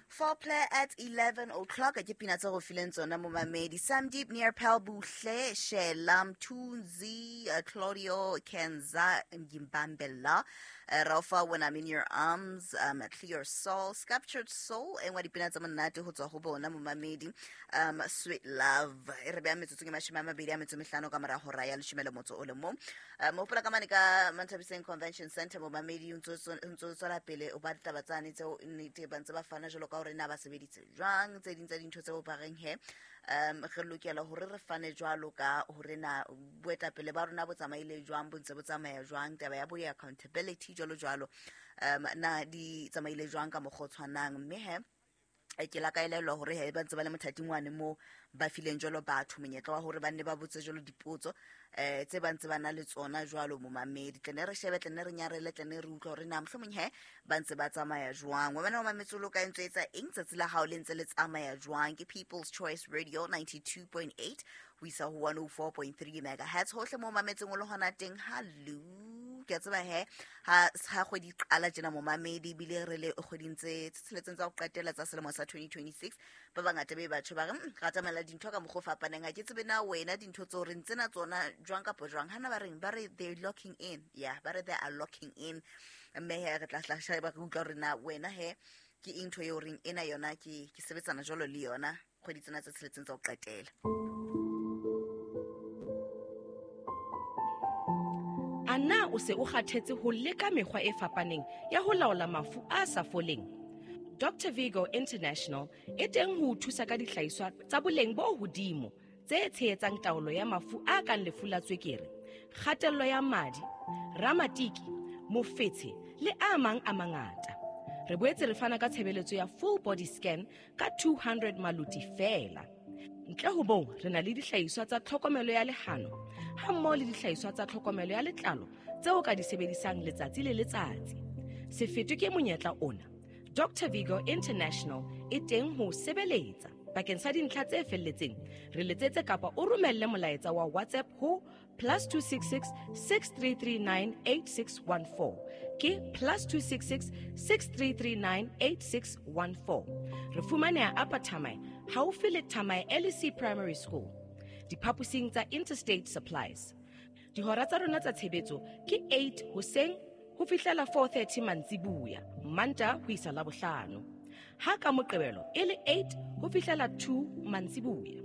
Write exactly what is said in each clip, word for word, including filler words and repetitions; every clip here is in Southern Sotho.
Foreplay at eleven o'clock ke pina tse go fileng tsona momamedi. Samdeep Nearpel Buhle Shela Mthunzi, uh, Claudio Kenza Ngimbambela, uh, Rafa When I'm in Your Arms, um, Clear Soul, Sculptured Soul, e nngwe dipina tsa monate ho tswa ho bona momamedi. um, Sweet Love e re beya metsotsong e mashome a mabedi a metso e mehlano ka mora hora ya leshome le motso o le mong. uh, mo hopola ka mane ka Manthabiseng Convention Center momamedi, o ntso o tswela pele o ba ditaba tsane tseo nnete ba ntse ba fana jwalo ka hore na ba sebeditse jwang, tse ding tsa dintho tseo ba reng he um re lokela hore re fane jwalo ka hore na boetapele ba rona bo tsamaile jwang, bo ntse bo tsamaya jwang, taba ya bo ya accountability jwalo jwalo, um na di tsamaile jwang ka mokgwa o tshwanang. Mme he ke la ka elellwa hore he ba ntse ba le mothating wane moo ba fileng jwalo batho monyetla wa hore ba nne ba botse jwalo dipotso eh tse ba ntse ba na le tsona jwalo momamedi. Tle ne re shebe, tle ne re nyarele, tle ne re utlwa hore na mohlomong he ba ntse ba tsamaya jwang. Wena o mametse o loka ntse etsa eng tsatsi la hao le ntse le tsamaya jwang? Ke People's Choice Radio ninety-two point eight ho isa ho one oh four point three megahertz hohle mo mametseng o le hona teng. Hallo, ke a tseba he ha ha kgwedi qala tjena momamedi, ebile re le kgweding tse tsheletseng tsa ho qetela tsa selemo sa twenty twenty-six, ba bangata be batho ba re ra tsamaela dintho ka mokgwa o fapaneng. Ha ke tsebe na wena dintho tseo re ntse na tsona jwang kapa jwang. Hana ba reng ba re they're locking in, yeah, ba re they are locking in. Mme he re tla hla sheba re utlwa hore na wena he ke eng ntho eo reng ena yona ke ke sebetsana jwalo le yona kgwedi tsena tse tsheletseng tsa ho qetela. Ana o se o kgathetse ho leka mekgwa e fapaneng ya ho laola mafu a sa foleng? Doctor Vigo International e teng ho o thusa ka dihlahiswa tsa boleng bo hodimo tse tshehetsang taolo ya mafu a kang lefu la tswekere, kgatello ya madi, ramatiki, mofetshe le a mang a mangata. Re boetse re fana ka tshebeletso ya full body scan ka two hundred maluti feela. Ntle ho moo, re na le dihlahiswa tsa tlhokomelo ya lehano ha mmoho le dihlahiswa tsa tlhokomelo ya letlalo tseo ka di sebedisang letsatsi le letsatsi. Se fetwe ke monyetla ona. Doctor Vigo International e teng ho sebeletsa. Bakeng sa dintlha tse felletseng, re letsetse kapa o romelle molaetsa wa WhatsApp ho plus two six six, six three three nine eight six one four. Ke plus two six six, six three three nine eight six one four. Re fumaneha Upper Thamae, haufi le Thamae L E C Primary School, diphaposing tsa Interstate Supplies. Dihora tsa rona tsa tshebetso ke eight hoseng ho fihlela four thirty mantsibuya, Manta ho isa Labohlano. Ha ka Moqebelo e le eight ho fihlela two mantsibuya.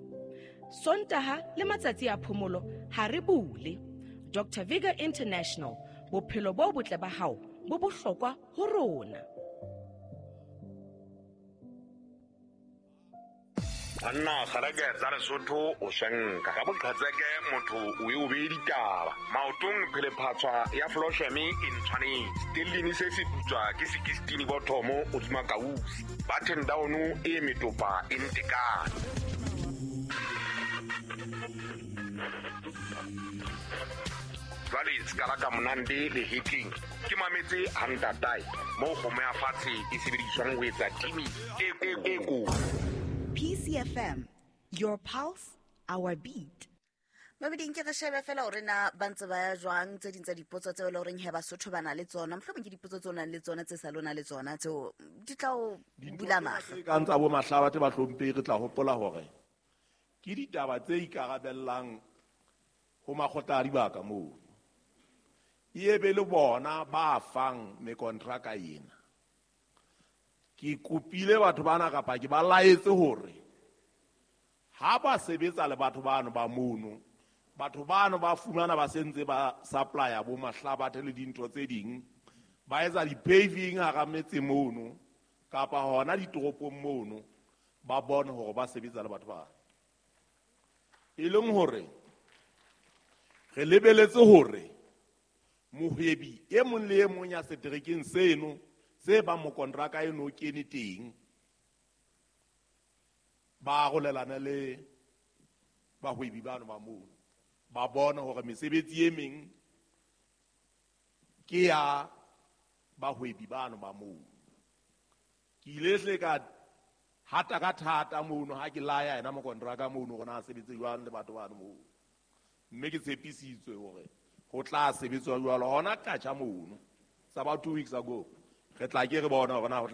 Sontaha le matsatsi a phomolo ha re bule. Doctor Vigo International, bophelo bo botle ba hao bo bohlokwa ho rona. Banna kgareke tsa Lesotho o shenka ka boqhetseke motho o e o be ditaba maotong phelephatswa ya Flosheme e ntshwanetse stellini se se putswa ke sixteen bothomo o dima kausi button down e metopa e ntekane. Jwale skala ka monande le hitting ke mametse hantatae mo kgomo ya fatshe e sebediswang ho etsa timi e e ko. P C F M, your pulse, our beat. Mabeding ke re shebe fela hore na ba ntse ba ya jwang tse ding tsa dipotso tseo le horeng he Basotho ba na le tsona, mohlomong ke dipotso tseo nang le tsona tse sa lona le tsona tseo di tla o bula mahlo. Ka ntsa bo mahlaba tse ba hlomphe re tla hopola hore ke ditaba tse ikarabellang ho makgotla a dibaka moo. E be le bona ba fang mekontraka ena. Ke kopile batho bana kapa ke ba laetse hore ha ba sebetsa le batho bano ba mono, batho bano ba fumana ba sentse ba supplier bo mahlabathe le dintho tse ding, ba etsa di-paving hara metse mono kapa hona ditoropong mono, ba bone hore ba sebetsa le batho bana. E leng hore re lebeletse hore mohwebi e mong le e mong ya seterekeng seno se ba mokontraka eno kene teng ba arolelana le bahwebi bano ba mono, ba bona hore mesebetsi e meng ke ya bahwebi bano ba mono. Ke ile hle ka hata ka thata mono ha ke laya yena mokontraka mono hore na sebetse jwang le batho bano mono, mme ke tshepisitswe hore ho tla sebetswa jwalo hona katjha mono. It's about two weeks ago. Re tla ke re bona hore na